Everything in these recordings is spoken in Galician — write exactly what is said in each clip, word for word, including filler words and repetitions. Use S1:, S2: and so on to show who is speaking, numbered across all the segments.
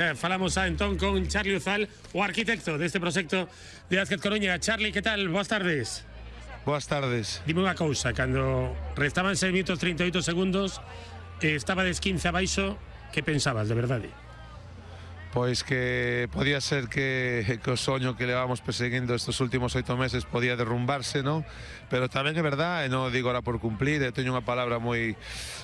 S1: Falamos a entón con Charlie Uzal, o arquitecto deste proxecto de Básquet Coruña. Charlie, que tal? Boas tardes.
S2: Boas tardes.
S1: Dime unha cousa, cando restaban seis minutos trinta e oito segundos, eh, estabades quince abaixo, que pensabas, de verdade?
S2: Pois que podía ser que, que o soño que levamos perseguindo estes últimos oito meses podía derrumbarse, non? Pero tamén é verdad, e non digo ahora por cumplir, e teño unha palabra moi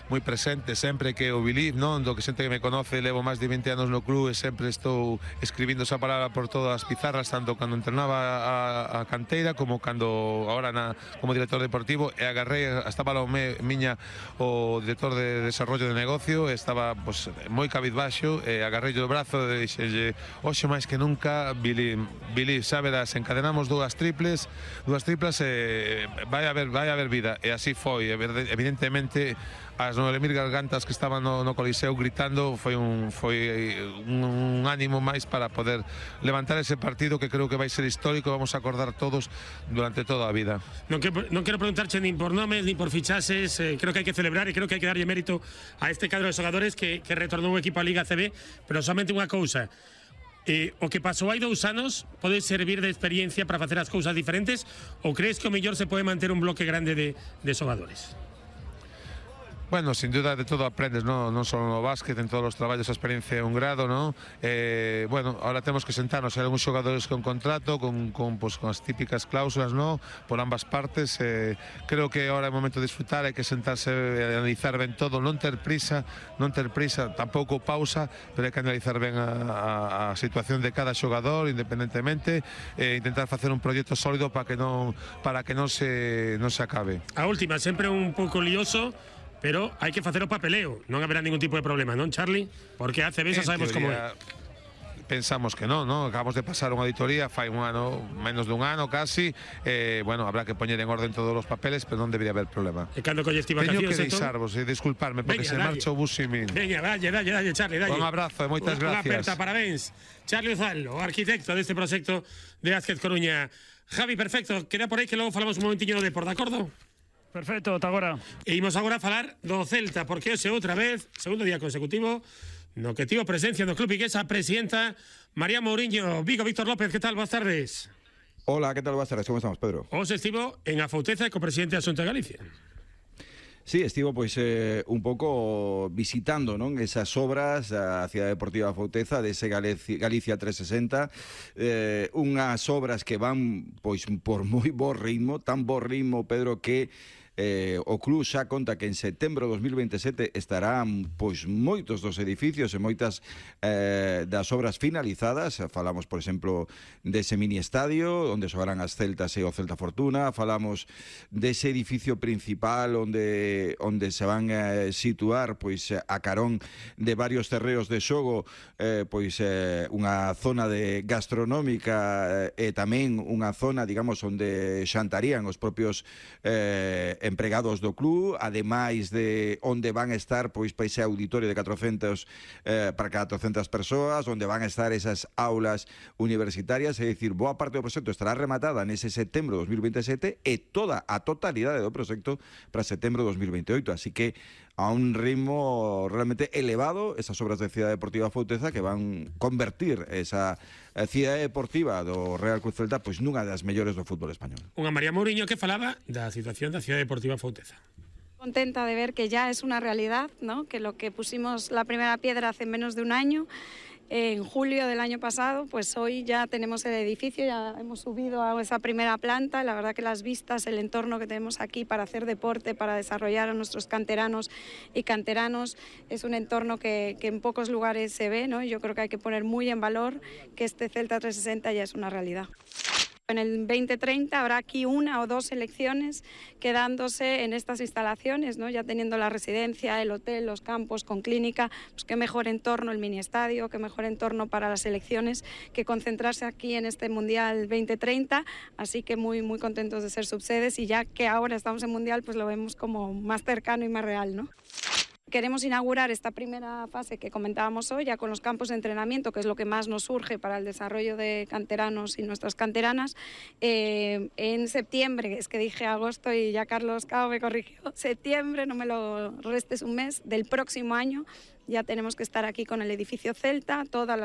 S2: moi presente sempre, que o believe, non? Do que xente que me conoce, levo máis de vinte anos no club e sempre estou escribindo esa palabra por todas as pizarras, tanto cando entrenaba a, a canteira como cando agora na, como director deportivo, e agarrei, estaba ao me, miña o director de desarrollo de negocio, estaba pues, moi cabizbaixo, e agarrei o brazo de dixelle, hoxe máis que nunca, Billy, Billy, xa verás, encadenamos dúas triples, dúas triplas e vai haber, vai haber vida, e así foi, evidentemente as nove mil gargantas que estaban no, no Coliseo gritando foi un, foi un, un ánimo máis para poder levantar ese partido que creo que vai ser histórico, vamos a acordar todos durante toda a vida.
S1: Non, que, non quero preguntarche nin por nomes, nin por fichases, eh, creo que hai que celebrar e creo que hai que darlle mérito a este cadro de xogadores que, que retornou o equipo a Liga C B, pero somente unha cousa, eh, o que pasou hai dous anos pode servir de experiencia para facer as cousas diferentes, ou crees que o mellor se pode manter un bloque grande de, de xogadores?
S2: Bueno, sin duda de todo aprendes, ¿no? Non só no básquet, en todos os traballos a experiencia é un grado, ¿no? Eh, bueno, ahora temos que sentarnos, hai algúns xogadores con contrato, con, con, pues, con as típicas cláusulas, ¿no? Por ambas partes, eh, creo que ahora é o momento de disfrutar, hai que sentarse e analizar ben todo, non ter prisa, non ter prisa, tampouco pausa, pero hai que analizar ben a, a, a situación de cada xogador, independentemente, e eh, intentar facer un proxecto sólido para que non para que non se non se acabe.
S1: A última, sempre un pouco lioso, pero hai que facer o papeleo, non haberá ningún tipo de problema, non, Charlie? Porque a C B xa sabemos como é.
S2: Pensamos que non, non? Acabamos de pasar unha auditoría fai un ano, menos dun ano casi, eh, bueno, habrá que poñer en orden todos os papeles, pero non debería haber problema.
S1: E cando colles ti vacacións?
S2: Teño que deixarvos, e disculparme, porque Veña, se dalle. marcha o bus sin min.
S1: Veña, dalle, dalle, dalle, Charlie, dalle.
S2: Un abrazo e moitas gracias.
S1: Unha aperta, parabéns. Charlie Uzal, o arquitecto deste proxecto de Básquet Coruña. Javi, perfecto, queda por aí que logo falamos un momentiño de deporte, de acordo?
S3: Perfecto, ata agora.
S1: E imos agora a falar do Celta, porque hoxe outra vez, segundo día consecutivo, no que tivo presencia no club viguesa a presidenta María Mouriño. Vigo, Víctor López, que tal? Boas tardes.
S4: Hola, que tal? Boas tardes, como estamos, Pedro?
S1: Hoxe estivo en a Fouteza co presidente da Xunta de Galicia.
S4: Sí, estivo pois eh, un pouco visitando, non, esas obras a Cidade Deportiva Fouteza dese Galicia, Galicia trescentos sesenta, eh, unhas obras que van pois por moi bo ritmo, tan bo ritmo, Pedro, que Eh, o club xa conta que en setembro de dos mil veintesete estarán pois moitos dos edificios e moitas eh, das obras finalizadas. Falamos, por exemplo, dese mini estadio onde xogarán as Celtas e o Celta Fortuna, falamos dese edificio principal onde onde se van a situar pois a carón de varios terreos de xogo, eh, pois eh, unha zona de gastronómica eh, e tamén unha zona, digamos, onde xantarían os propios eh, empregados do club, ademais de onde van a estar pois para ese auditorio de catrocentas eh, para catrocentas persoas, onde van a estar esas aulas universitarias, é dicir, boa parte do proxecto estará rematada nese setembro de dos mil veintesete e toda a totalidade do proxecto para setembro de dos mil veintioito, así que a un ritmo realmente elevado esas obras de Cidade Deportiva Fouteza que van convertir esa Cidade Deportiva do Real Cruz Celta pois nunha das mellores do fútbol español.
S1: Unha María Mouriño que falaba da situación da Cidade Deportiva Fouteza.
S5: Contenta de ver que ya es una realidad, ¿no? Que lo que pusimos la primera piedra hace menos de un año, en julio del año pasado, pues hoy ya tenemos el edificio, ya hemos subido a esa primera planta. La verdad que las vistas, el entorno que tenemos aquí para hacer deporte, para desarrollar a nuestros canteranos y canteranos, es un entorno que, que en pocos lugares se ve, ¿no? Yo creo que hay que poner muy en valor que este Celta trescientos sesenta ya es una realidad. En el veinte treinta habrá aquí una o dos selecciones quedándose en estas instalaciones, ¿no? Ya teniendo la residencia, el hotel, los campos con clínica, pues qué mejor entorno el mini estadio, qué mejor entorno para las selecciones que concentrarse aquí en este Mundial veinte treinta, así que muy muy contentos de ser subsedes y ya que ahora estamos en Mundial pues lo vemos como más cercano y más real, ¿no? Queremos inaugurar esta primera fase que comentábamos hoy, ya con los campos de entrenamiento, que es lo que más nos surge para el desarrollo de canteranos y nuestras canteranas. Eh, en septiembre, es que dije agosto y ya Carlos Cao me corrigió, septiembre, no me lo restes un mes, del próximo año, ya tenemos que estar aquí con el edificio Celta, todas las